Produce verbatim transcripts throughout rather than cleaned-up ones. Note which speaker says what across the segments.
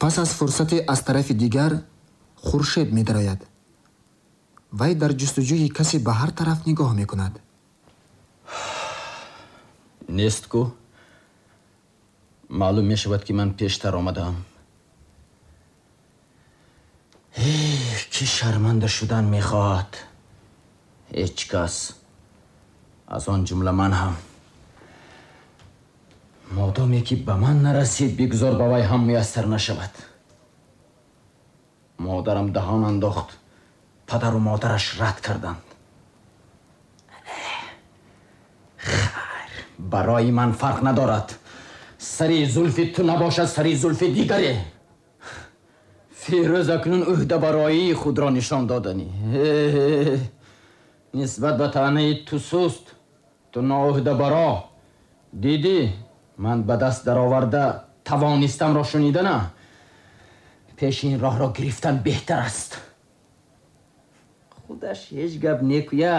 Speaker 1: Пас аз фурсате аз тарафи дигар Хуршед медарояд. Вай дар ҷустуҷӯи касе ба ҳар тараф нигоҳ мекунад.
Speaker 2: Нест ку? Маълум мешавад, ки ман пештар омадаам. Ки шарманда шудан мехоҳад? Ҳеҷ кас, аз он ҷумла ман ҳам. Модоме ки ба ман нарасид, бигзор ба вай ҳам муяссар нашавад. Модарам даҳон андохт, падару модараш рад карданд. Хайр, барои ман фарқ надорад. Сари зулфи ту набошад, сари зулфи дигаре. Фирӯз акнун ӯҳдабароии худро нишон доданӣ. Нисбат ба таънаи ту суст, ту ноӯҳдабаро. Дидӣ, ман ба даст дароварда тавонистамро шунидана. Пеши ин роҳро гирифтан беҳтар аст. Худаш ҳеҷ гап некӯя.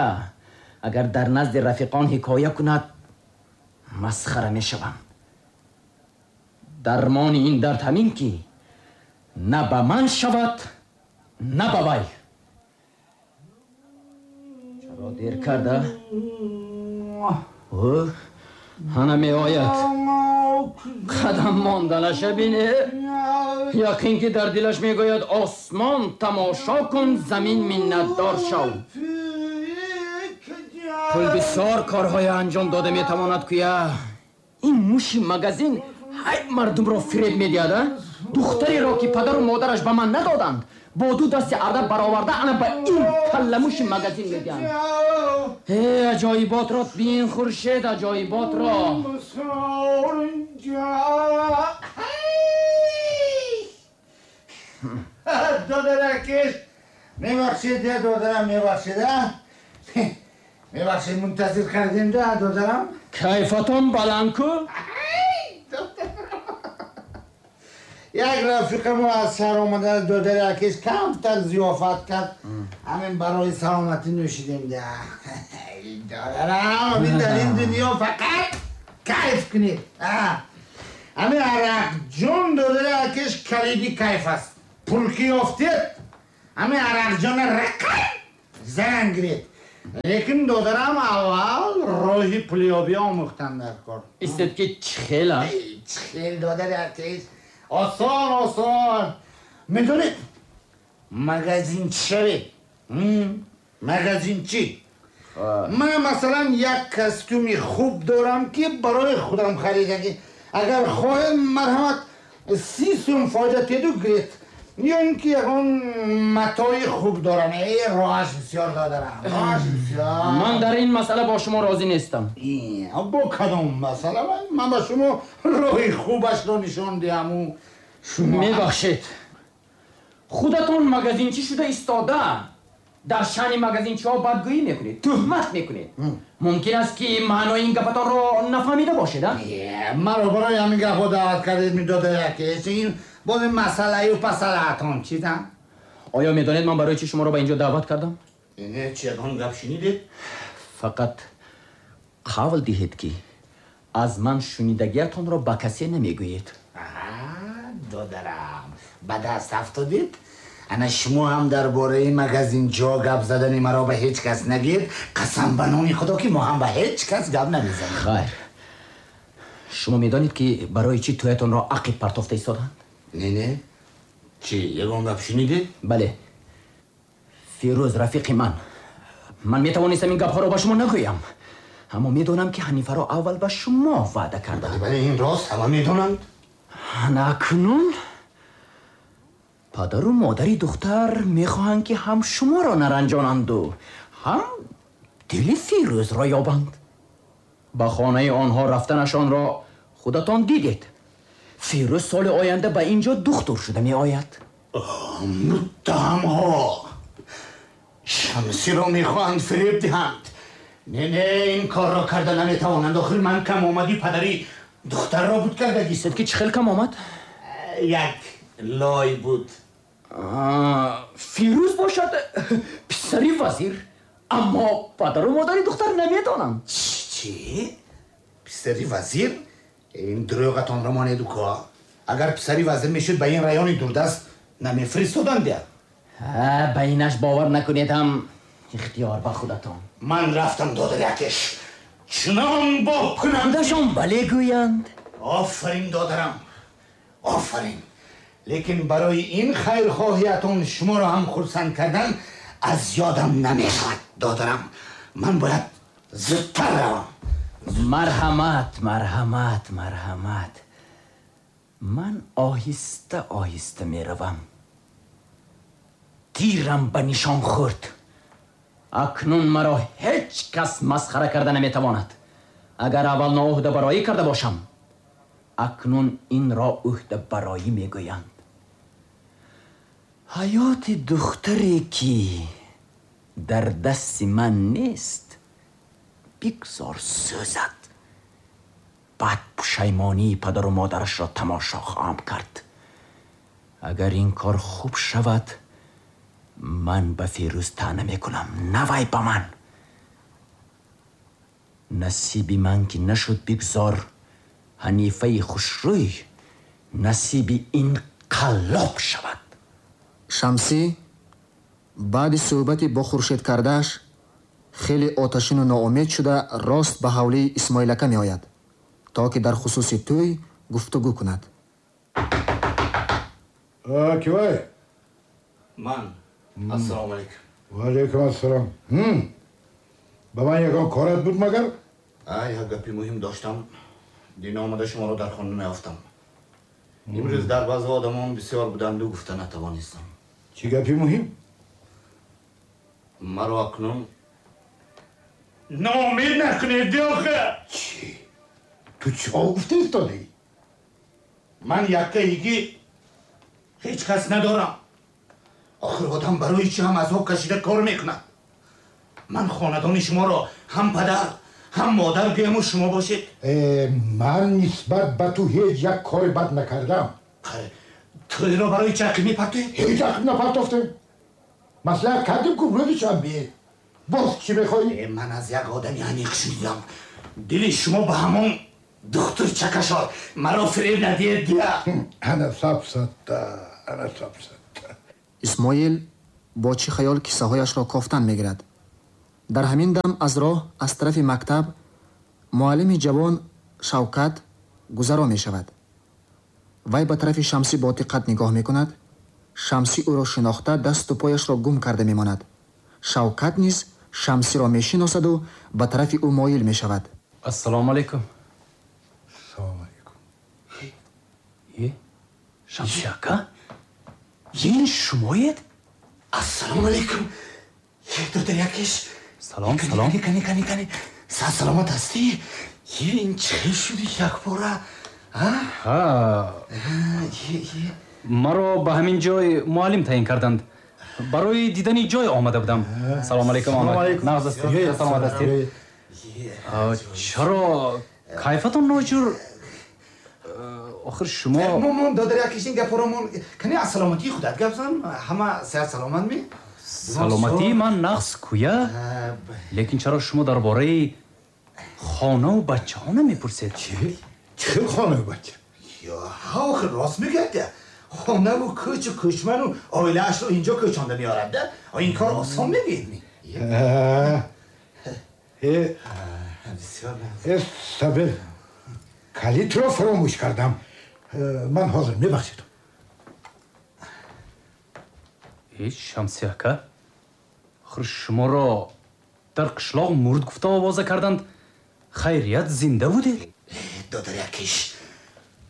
Speaker 2: Агар дар назди рафиқон ҳикоя кунад, масхара мешавам. Дармони ин дард ҳамин ки на ба ман шавад, на ба вай. Чаро дер карда? Ӯ ҳана меояд. Қадам монданаша бине. Яқин ки дар дилаш мегӯяд: осмон тамошо кун, замин миннатдор шав. Пул бисёр корҳое анҷом дода метавонад куя. Ин муши магазин ҳай мардумро фиреб медиҳад. Духтареро ки падару модараш ба ман надоданд, бо ду дасти арда бароварда ана ба ин калламуши магазин медиҳанд. Э, аҷоиботро бин, Хуршед, аҷоиботро.
Speaker 3: Додаракиш, мебахшед, додарам, мебахшед, мебахшед, мунтазир кардем, додарам.
Speaker 2: Кайфатон баланд ку?
Speaker 3: Як рафиқамо аз шаҳр омада, додари акиш камтар зиёфат кард, ҳамин барои саломатӣ нӯшидем. Додарам, ҳамин дар ин дунё фақат кайф кунед. Ҳамин арақҷон, додари акиш, калиди кайф аст. Пул ки ёфтед, ҳамин арақҷона рақам зан гиред. Лекин додарам, аввал роҳи пулёбӣ омӯхтан дар кор.
Speaker 2: Истед ки чӣ хел аст?
Speaker 3: Чӣ хел, додари акиш? Осон, осон. Медонед, магазинчи шавед. Магазинчи. Ман масалан як костюми хуб дорам, ки барои худам харидагӣ. Агар хоҳед, марҳамат, си сум фоида теду гиред. Ё ин ки ягон матои хуб дорам. Э, роҳаш бисёр, додарам, роҳаш бисёр.
Speaker 2: Ман дар ин масъала бо шумо розӣ нестам.
Speaker 3: Бо кадом масъала? Ман ба шумо роҳи хубашро нишон диҳаму шумо.
Speaker 2: Мебахшед, худатон магазинчӣ шуда истода дар шаъни магазинчиҳо бадгӯӣ мекунед, тӯҳмат мекунед. Мумкин аст ки маънои ин гапатонро нафаҳмида бошед.
Speaker 3: Маро барои ҳамин гапҳо даъват кардед, медодари акиш? Ин боз ин масъалаю пасалаатон чизам?
Speaker 2: Оё медонед ман барои чӣ шуморо ба инҷо даъват кардам?
Speaker 3: Не, чи ягон гап шунидед?
Speaker 2: Фақат қавл диҳед, ки аз ман шунидагиятонро ба касе намегӯед.
Speaker 3: Додарам, ба даст афтодед. Ана шумо ҳам дар бораи магазинчиҳо гап задани маро ба ҳеҷ кас нагӯед. Қасам ба номи Худо, ки мо ҳам ба ҳеҷ кас гап намезанем.
Speaker 2: Хайр, шумо медонед, ки барои чӣ тӯятонро ақиб партофта истоданд?
Speaker 3: Не, не, чӣ ягон гап шунидед?
Speaker 2: Бале, Фирӯз рафиқи ман. Ман метавонистам ин гапҳоро ба шумо нагӯям, аммо медонам, ки Ҳанифаро аввал ба шумо ваъда кардам.
Speaker 3: Бале, ин рост, ҳама медонанд.
Speaker 2: Ана акнун падару модари духтар мехоҳанд, ки ҳам шуморо наранҷонанду ҳам дили Фирӯзро ёбанд. Ба хонаи онҳо рафтанашонро худатон дидед. Фирӯз соли оянда ба ин ҷо духтур шуда меояд.
Speaker 3: Муттаҳамҳо Шамсиро мехоҳанд фиреб диҳанд. Не, не, ин корро карда наметавонанд. Охир ман кам омади падари духтарро буд кардагӣ.
Speaker 2: Истед ки чӣ хел кам омад?
Speaker 3: Як лой буд.
Speaker 2: Фирӯз бошад писари вазир, аммо падару модари духтар намедонанд.
Speaker 3: Чӣ? Писари вазир? Ин дурӯғатонро монеду ко. Агар писари вазир мешуд, ба ин райони дурдаст намефиристоданд.
Speaker 2: Ба инаш бовар накунед ҳам ихтиёр ба худатон.
Speaker 3: Ман рафтам, додари Акиш. Чунон боб кунам.
Speaker 2: Худашон бале гӯянд.
Speaker 3: Офарин, додарам, офарин. Лекин барои ин хайрхоҳиятон шуморо ҳам хурсанд кардан аз ёдам намешавад, додарам. Ман бояд зудтар равам.
Speaker 2: Марҳамат, марҳамат, марҳамат. Ман оҳиста оҳиста меравам. Тирам ба нишон хӯрд. Акнун маро ҳеҷ кас масхара карда наметавонад. Агар аввал ноуҳдабароӣ карда бошам, акнун инро уҳдабароӣ мегӯянд. Ҳаёти духтаре ки дар дасти ман нест, бигзор сӯзад. Баъд пушаймонии падару модарашро тамошо хоҳам кард. Агар ин кор хуб шавад, ман ба Фирӯз таъна мекунам, на вай ба ман. Насиби ман ки нашуд, бигзор Ҳанифаи хушрӯй насиби ин қаллоб шавад.
Speaker 1: Шамсӣ баъди суҳбати бо Хуршед кардааш хеле оташину ноумед шуда рост ба ҳавлии Исмоилака меояд, то ки дар хусуси тӯй гуфтугӯ кунад.
Speaker 4: Кивай?
Speaker 3: Ман. Ассалому алайкум.
Speaker 4: Ва алайкум ассалом. Ба ман ягон корат буд магар?
Speaker 3: Як гапи муҳим доштам. Дин омада шуморо дар хона наёфтам. Имрӯз дар баъзе одамон бисёр буданду гуфта натавонистам.
Speaker 4: Чӣ гапи муҳим?
Speaker 3: Маро акнун ноумед накунед, охе.
Speaker 4: Чӣ? Ту чӣ гуфта истодаӣ?
Speaker 3: Ман яккаигӣ ҳеҷ кас надорам. Охир одам барои чӣ ҳам азоб кашида кор мекунад? Ман хонадони шуморо ҳам падар ҳам модар гӯяму шумо бошед.
Speaker 4: Ман нисбат ба ту ҳеҷ як кори бад накардам.
Speaker 3: Тӯйро барои чӣ ақиб мепартоед?
Speaker 4: Ҳеҷ ақиб напартофтем. Маслиҳат кардем ку рӯзи шанбе. Боз чӣ мехоҳӣ?
Speaker 3: Ман аз як одами аниқ шунидам. Дили шумо ба ҳамон духтур чакашод. Маро фиреб надиҳед дия.
Speaker 4: Ана сабсатта, ана сабсатта.
Speaker 1: Исмоил бо чӣ хаёл киссаҳояшро кофтан мегирад. Дар ҳамин дам аз роҳ аз тарафи мактаб муаллими ҷавон Шавкат гузаро мешавад. Вай ба тарафи Шамсӣ бо диққат нигоҳ мекунад. Шамсӣ ӯро шинохта дасту пояшро гум карда мемонад. Шавкат низ Шамсиро мешиносаду ба тарафи ӯ моил мешавад.
Speaker 5: Ассалому алайкум.
Speaker 4: Ассалому алайкум.
Speaker 5: Е, Шамсӣ ака? Ин шумоед?
Speaker 3: Ассалому алайкум. Е, додари Акиш.
Speaker 5: Салом, салом.
Speaker 3: Кани, кани, кани. Са саломат ҳастӣ? Е, ин чӣ шуди якбора?
Speaker 5: Ҳа. Маро ба ҳамин ҷой муаллим таъин карданд. Барои дидани ҷой омада будам. Салому алайкум, омад. Нағз ҳастед, саломат ҳастед. Чаро кайфатон ноҷур? Охир шумо
Speaker 3: Мон, додари Акиш, ин гапҳоро мон. Кани аз саломатии худат гап зан. Ҳама сиҳат саломат ми?
Speaker 5: Саломатии ман нағз куя, лекин чаро шумо дар бораи хонаву бачаҳо намепурсед?
Speaker 4: Чӣ? Чӣ хонаву бача?
Speaker 3: Ҳа, охир рост мегӯяд. Хонаву кӯчу кӯчману оилаашро инҷо кӯчонда меорад. Ин кор осон мегӯед ми?
Speaker 4: Э, сабир, калитро фаромӯш кардам. Ман ҳозир, мебахшед.
Speaker 5: Э, Шамсӣ ака, охир шуморо дар қишлоқ мурд гуфта овоза карданд. Хайрият зинда будед?
Speaker 3: Додари Акиш,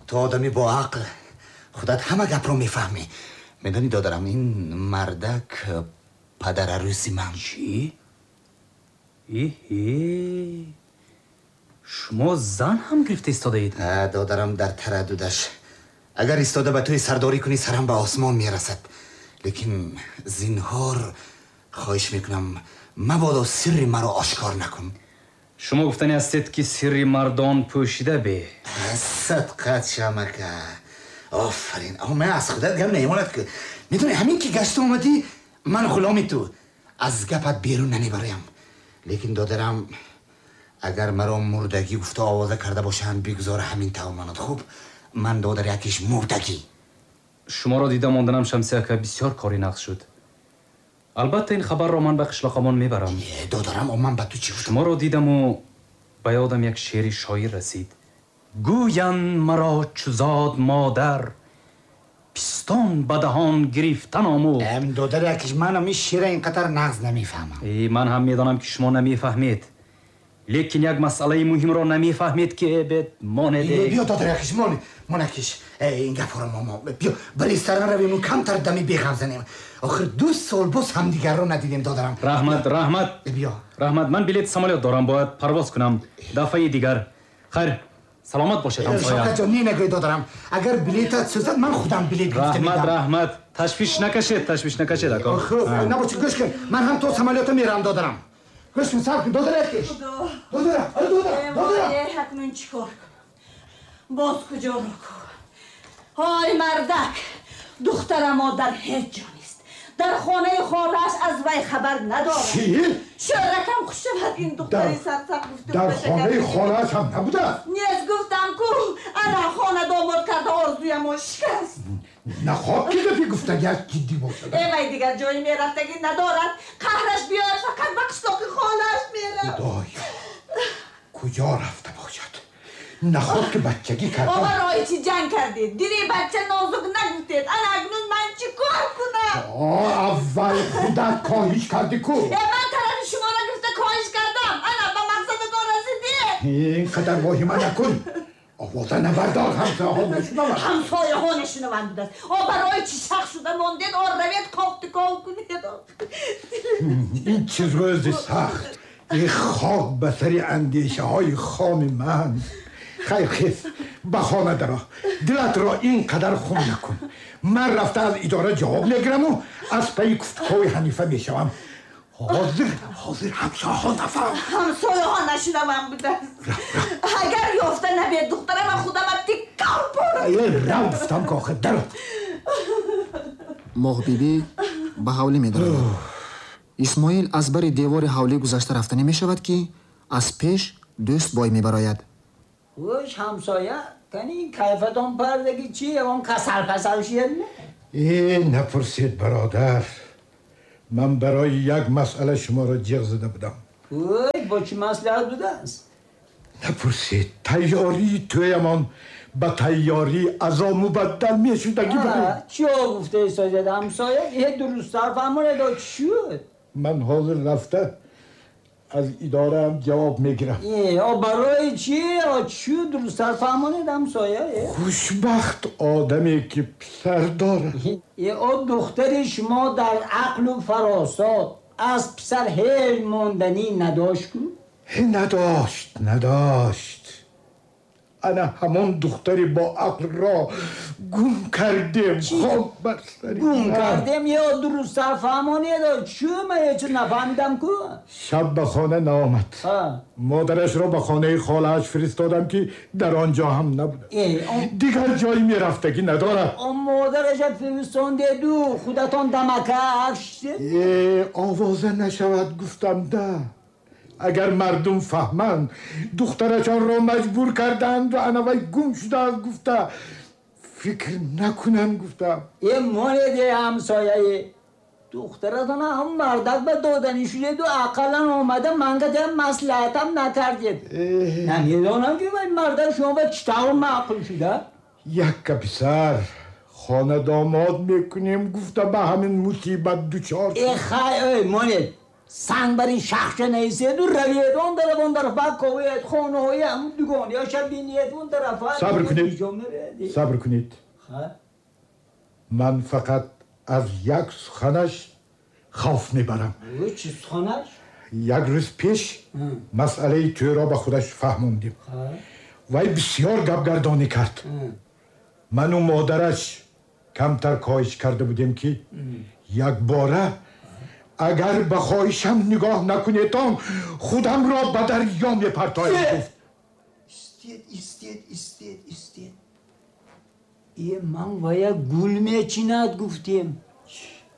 Speaker 3: ту одами боақл, худат ҳама гапро мефаҳмӣ. Медонӣ, додарам, ин мардак падарарӯси ман.
Speaker 5: Чӣ? Эҳе, шумо зан ҳам гирифта истодаед?
Speaker 3: Додарам дар тараддудаш. Агар истода ба тӯи сардорӣ кунӣ, сарам ба осмон мерасад. Лекин зинҳор хоҳиш мекунам, мабодо сирри маро ошкор накун.
Speaker 5: Шумо гуфтанӣ ҳастед, ки сирри мардон пӯшида бе?
Speaker 3: Садқат шамака, офарин. Ман аз худат гап намемонад ки медонӣ, ҳамин ки гашта омадӣ, ман ғуломи ту, аз гапат берун намебароям. Лекин додарам, агар маро мурдагӣ гуфта овоза карда бошанд, бигзор ҳамин тавр монад. Хуб, Ман додар якиш мурдагӣ.
Speaker 5: Шуморо дида монданам, Шамси ака, бисёр кори нағз шуд. Албатта ин хабарро ман ба қишлоқамон мебарам.
Speaker 3: Додарам, ман ба ту чӣ гуфтам?
Speaker 5: Шуморо дидаму ба ёдам як шеъри шоир расид. Гӯянд маро чу зод модар, пистон ба даҳон гирифтан омӯхт.
Speaker 3: Додар якиш, манам ин шеъра ин қадар нағз намефаҳмам.
Speaker 5: Ман ҳам медонам, ки шумо намефаҳмед, лекин як масъалаи муҳимро намефаҳмед, ки бед монеде.
Speaker 3: Биё, додар якиш, мон монакиш, ин гапҳоро мо биё ба ресторан равем, камтар дами беғам занем. Охир ду сол боз ҳамдигарро надидем, додарам.
Speaker 5: Раҳмат, раҳмат.
Speaker 3: Биё.
Speaker 5: Раҳмат, ман билети самолёт дорам, бояд парвоз кунам. Дафъаи дигар. Хайр, саломат бошед, ҳамсоя.
Speaker 3: Шавкатҷон, не нагӯй, додарам. Агар билетат сӯзад, ман худам билет гирифта медиҳам.
Speaker 5: Раҳмат, раҳмат. Ташвиш накашед, ташвиш накашед, ака.
Speaker 3: Хуб, набошад, гӯш кун. Ман ҳам то самолёта меравам, додарам. Гӯш кун, сабр кун, додарам якиш. Додарам, додарам, додарам.
Speaker 6: Акнун чӣ кор кунам? Боз куҷо ро кунам? Ҳой мардак, духтарамо дар ҳеҷ ҷо нест. Дар хонаи холааш аз вай хабар надорад.
Speaker 4: Чӣ?
Speaker 6: Шӯракам хуш шавад, ин духтари сарсахт гуфта.
Speaker 4: Дар хонаи холааш ҳам набудааст?
Speaker 6: Нест, гуфтам ку, ана хона домод карда орзуямо шикаст.
Speaker 4: Нахоҳ ки гапи гуфтагиаш ҷиддӣ бошад.
Speaker 6: Э, вай дигар ҷои мерафтагӣ надорад. Қаҳраш биёяд, фақат ба қишлоқи холааш меравад.
Speaker 4: Худоё, куҷо рафта бошад? Нахоҳ ки бачагӣ карда.
Speaker 6: Оба роҳи чӣ ҷанг кардед? Дили бача нозук нагуфтед. Ана акнун ман чӣ кор кунам?
Speaker 4: Аввал худат коҳиш кардӣ ку.
Speaker 6: Э, ман тарафи шуморо гирифта коҳиш кардам. Ана ба мақсадатон расидед.
Speaker 4: Ин қадар воҳима накун. Овоза набардор, ҳамсояҳо мешунаванд.
Speaker 6: Ҳамсояҳо нашунаванд будааст. О, барои чӣ шах шуда мондед? О, равед кофту ков кунед.
Speaker 4: Ин чиз рӯзи сахт, ин хок ба сари андешаҳои хоми ман. Хайр, хез, ба хона даро. Дилатро ин қадар хун накун. Ман рафта аз идора ҷавоб мегираму аз пайи куфтукови Ҳанифа мешавам. Ҳозир, ҳозир ҳамсояҳо нафаҳманд.
Speaker 6: Ҳамсояҳо нашунаванд будааст. Агар ёфта набед духтара, ман худама тиккав порам.
Speaker 4: Э, рав гуфтам ки охир, даро.
Speaker 1: Моҳбибӣ ба ҳавлӣ медарояд. Исмоил аз бари девори ҳавлӣ гузашта рафтанӣ мешавад, ки аз пеш дӯст бой мебарояд.
Speaker 7: Гӯш, ҳамсоя, кани кайфатон пардаги чи? Ягон касал касал шиед?
Speaker 4: Э, напурсед, бародар. Ман барои як масъала шуморо ҷиғ зада будам.
Speaker 7: Ой, бо чӣ маслиҳат будааст?
Speaker 4: Напурсед, тайёрии тӯямон ба тайёрии азо мубаддал мешудагӣ барем.
Speaker 7: Чиё гуфта истодед, ҳамсоя? Э, дурусттар фаҳмонед, чӣ шуд?
Speaker 4: Ман ҳозир рафта аз идораам ҷавоб мегирам.
Speaker 7: Э, о барои чӣ? О, чӣ дурусттар фаҳмонед, ҳамсоя?
Speaker 4: Хушбахт одаме ки писар дорад.
Speaker 7: Э, о духтари шумо дар ақлу фаросат аз писар ҳеҷ монданӣ надошт ку?
Speaker 4: Надошт, надошт. Ана ҳамон духтари бо ақлро гум кардем. Хок бар сари
Speaker 7: гум кардем. Ё дурусттар фаҳмонед, чӣ? Ман ҳеҷ нафаҳмидам ку.
Speaker 4: Шаб ба хона наомад. Модарашро ба хонаи холааш фиристодам, ки дар он ҷо ҳам набуд. Дигар ҷои мерафтагӣ надорад.
Speaker 7: Модараша фиристонdeду худатон дамакаш.
Speaker 4: Э, овоза нашавад гуфтам да. Агар мардум фаҳманд, духтарашонро маҷбур карданд ва ана вай гум шудааст гуфта фикр накунанд гуфтам.
Speaker 7: Э, монеде, ҳамсояе, духтаратон ҳам мардак ба доданӣ шудеду ақаллан омада манга дям маслиҳатам накардед. Намедонам ки вай мардак шумо ба чӣ тавр маъқул шуда?
Speaker 4: Якка писар хона домод мекунем гуфта ба ҳамин мусибат дучор.
Speaker 7: Э, хай, ой, монед, санг бар ин шахша наиседу равед он тараф, он тараф баковед, хонаҳои ҳамун дугониёша бинед, он тарафа.
Speaker 4: Сабр кунед, сабр кунед. Ман фақат аз як суханаш хавф мебарам.
Speaker 7: Чӣ суханаш?
Speaker 4: Як рӯз пеш масъалаи тӯйро ба худаш фаҳмондем. Вай бисёр гапгардонӣ кард. Ману модараш камтар коҳиш карда будем, ки якбора агар ба хоҳишам нигоҳ накунедон, худамро ба дарё мепартоям гуфт.
Speaker 7: Истед, истед, истед, истед. Э, ман вая гул мечинад гуфтем.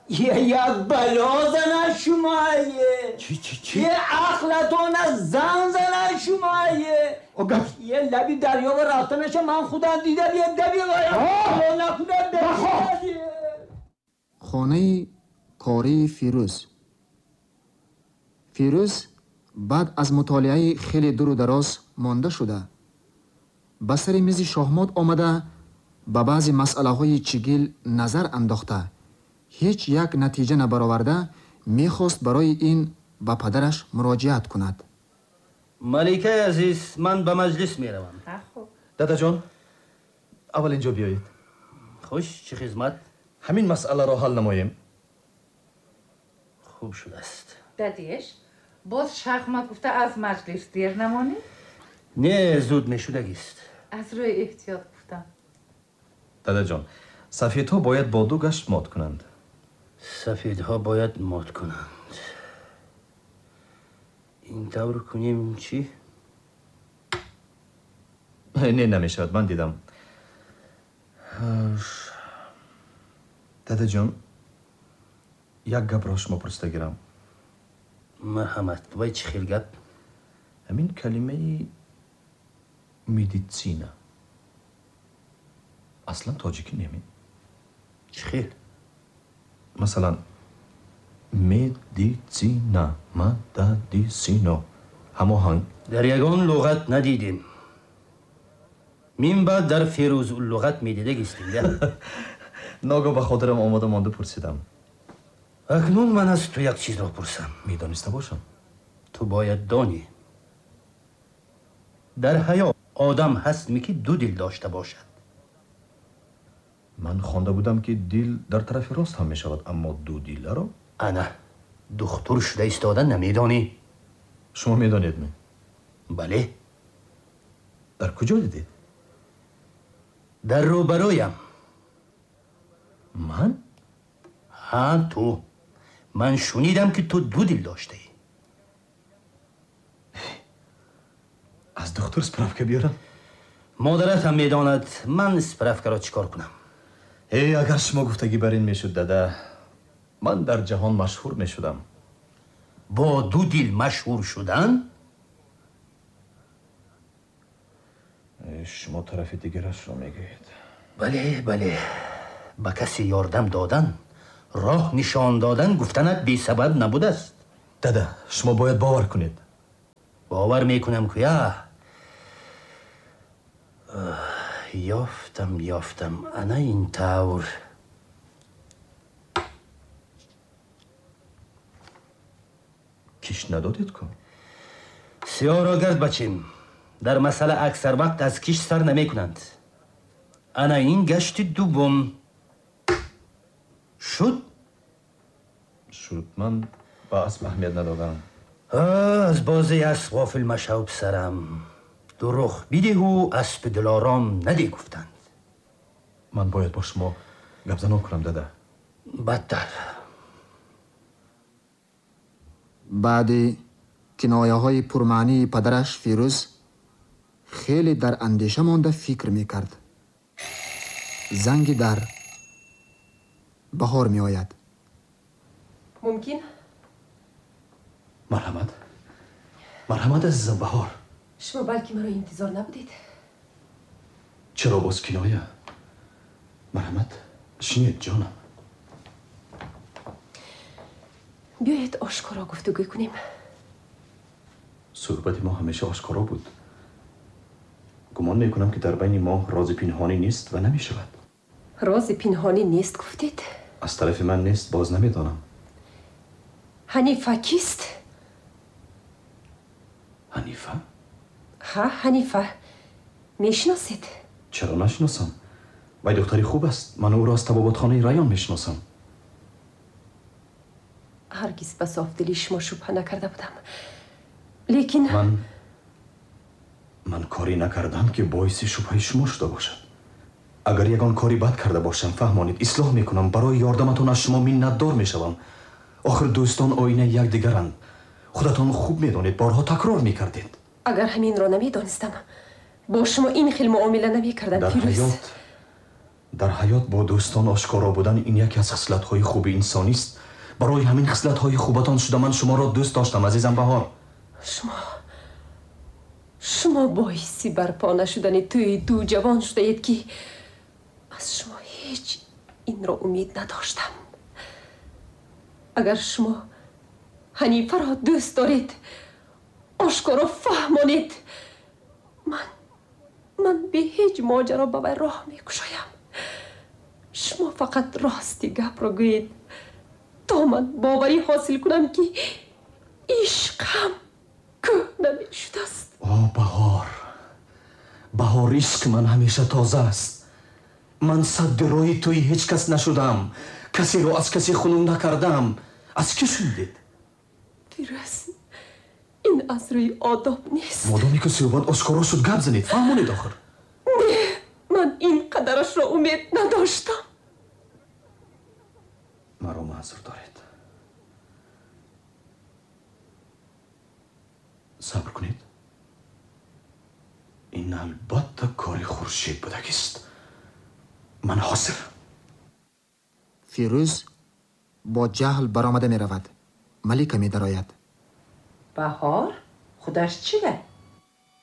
Speaker 7: Як бало зана шумое.
Speaker 4: Чӣ чӣ чӣ?
Speaker 7: Е ақлатона зан зана шумое. Е лаби дарё ва рафтанаша ман худам дидам, е даби накунам.
Speaker 1: Хонаи кории Фирӯз. Фирӯз баъд аз мутолиаи хеле дуру дароз монда шуда, ба сари мизи шоҳмот омада, ба баъзе масъалаҳои чигил назар андохта, ҳеҷ як натиҷа набароварда, мехост барои ин ба падараш муроҷиат кунад.
Speaker 8: Маликаи азиз, ман ба маҷлис меравам.
Speaker 9: Дадаҷон, аввал инҷо биёед.
Speaker 8: Хуш, чӣ хизмат?
Speaker 9: Ҳамин масъаларо ҳал намоем.
Speaker 8: Хуб шудааст.
Speaker 10: Дадеш, боз шахмат гуфта аз маҷлис дер намонӣ?
Speaker 8: Не, зуд мешудагист.
Speaker 10: Аз рӯи эҳтиёт гуфтам.
Speaker 9: Дадаҷон, сафедҳо бояд бо ду гашт мот кунанд.
Speaker 8: Сафедҳо бояд мот кунанд. Ин тавр кунем чӣ?
Speaker 9: Не, намешавад, ман дидам. Дадаҷон, як гапро шумо пурсида гирам.
Speaker 8: Марҳамат, вай чӣ хел гап?
Speaker 9: Ҳамин калимаи медицина аслан тоҷикӣ неме?
Speaker 8: Чӣ хел?
Speaker 9: Масалан, медицина, мададисино ҳамоҳанг.
Speaker 8: Дар ягон луғат надидем. Мин баъд дар Фирӯзуллуғат медидагистем.
Speaker 9: Ногоҳ ба хотирам омода монда пурсидам.
Speaker 8: Акнун ман аз ту як чизро пурсам.
Speaker 9: Медониста бошам.
Speaker 8: Ту бояд донӣ. Дар ҳаёт одам ҳастме ки ду дил дошта бошад?
Speaker 9: Ман хонда будам ки дил дар тарафи рост ҳам мешавад, аммо ду диларо?
Speaker 8: Ана, духтур шуда истода намедонӣ.
Speaker 9: Шумо медонед ме?
Speaker 8: Бале.
Speaker 9: Дар куҷо дидед?
Speaker 8: Дар рӯбарӯям.
Speaker 9: Ман?
Speaker 8: Ҳа, ту. Ман шунидам ки ту ду дил доштаӣ.
Speaker 9: Аз духтур справка биёрам?
Speaker 8: Модарат ҳам медонад, ман справкаро чӣ кор кунам?
Speaker 9: Э, агар шумо гуфтагӣ бар ин мешуд, дада, ман дар ҷаҳон машҳур мешудам.
Speaker 8: Бо ду дил машҳур шудан?
Speaker 9: Шумо тарафи дигарашро мегӯед.
Speaker 8: Бале, бале. Ба касе ёрдам додан, роҳ нишон додан гуфтанат бесабаб набудааст.
Speaker 9: Дада, шумо бояд бовар кунед.
Speaker 8: Бовар мекунам куя. Ёфтам, ёфтам. Ана ин тавр.
Speaker 9: Киш надодед ку?
Speaker 8: Сиёҳро гард бачем. Дар масъала аксар вақт аз киш сар намекунанд. Ана ин гашти дуввум. Шуд?
Speaker 9: Шуд. Ман ба асп аҳамият надодам.
Speaker 8: Аз бозии асп ғофил машав, писарам. Дурӯғ бидиҳу аспи дилором надӣ гуфтанд.
Speaker 9: Ман бояд бо шумо гапзанон кунам, дада.
Speaker 8: Бадтар.
Speaker 1: Баъди кинояҳои пурмаънии падараш Фирӯз хеле дар андеша монда фикр мекард. Занги дар. Баҳор меояд.
Speaker 11: Мумкин?
Speaker 9: Марҳамат. Марҳамат, азизам Баҳор.
Speaker 11: Шумо балки маро интизор набудед?
Speaker 9: Чаро боз киноя? Марҳамат, шинед, ҷонам.
Speaker 11: Биёед ошкоро гуфтугӯ кунем.
Speaker 9: Суҳбати мо ҳамеша ошкоро буд. Гумон мекунам ки дар байни мо рози пинҳонӣ нест ва намешавад.
Speaker 11: Рози пинҳонӣ нест гуфтед?
Speaker 9: Аз тарафи ман нест, боз намедонам.
Speaker 11: Ҳанифа кист?
Speaker 9: Ҳанифа?
Speaker 11: Ҳа, Ҳанифа. Мешиносед?
Speaker 9: Чаро нашиносам? Вай духтари хуб аст. Ман ӯро аз табобатхонаи район мешиносам.
Speaker 11: Ҳаргиз ба софдилии шумо шубҳа накарда будам. Лекин
Speaker 9: ман ман корӣ накардам ки боиси шубҳаи шумо шуда бошад. Агар ягон кори бад карда бошам, фаҳмонед, ислоҳ мекунам. Барои ёрдаматон аз шумо миннатдор мешавам. Охир дӯстон оинаи якдигаранд. Худатон хуб медонед, борҳо такрор мекардед.
Speaker 11: Агар ҳаминро намедонистам, бо шумо ин хел муомила намекардам,
Speaker 9: Дар
Speaker 11: Фирӯз.
Speaker 9: ҳаёт Дар ҳаёт бо дӯстон ошкоро будан ин яке аз хислатҳои хуби инсонист. Барои ҳамин хислатҳои хубатон шуда ман шуморо дӯст доштам, азизам Баҳор.
Speaker 11: Шумо шумо боиси барпо нашудани тӯи ду ҷавон шудаед, ки аз шумо ҳеҷ инро умед надоштам. Агар шумо Ҳанифаро дӯст доред, ошкоро фаҳмонед. Ман ман бе ҳеҷ моҷаро ба вай роҳ мекушоям. Шумо фақат рости гапро гӯед, то ман боварӣ ҳосил кунам, ки ишқам кӯҳна мешудааст.
Speaker 9: О Баҳор, Баҳор, ишқи ман ҳамеша тоза аст. Ман садди роҳи тӯи ҳеҷ кас нашудам, касеро аз касе хунук накардам. Аз кӣ шунидед?
Speaker 11: Фирӯз, ин аз рӯи одоб нест.
Speaker 9: Модоме ки суҳбат ошкоро шуд, гап занед, фаҳмонед охир.
Speaker 11: Не, ман ин қадарашро умед надоштам.
Speaker 9: Маро маъзур доред. Сабр кунед. Ин албатта кори Хуршед будагист. Ман ҳозир.
Speaker 1: Фирӯз бо ҷаҳл баромада меравад. Малика медарояд.
Speaker 10: Баҳор худаш чида?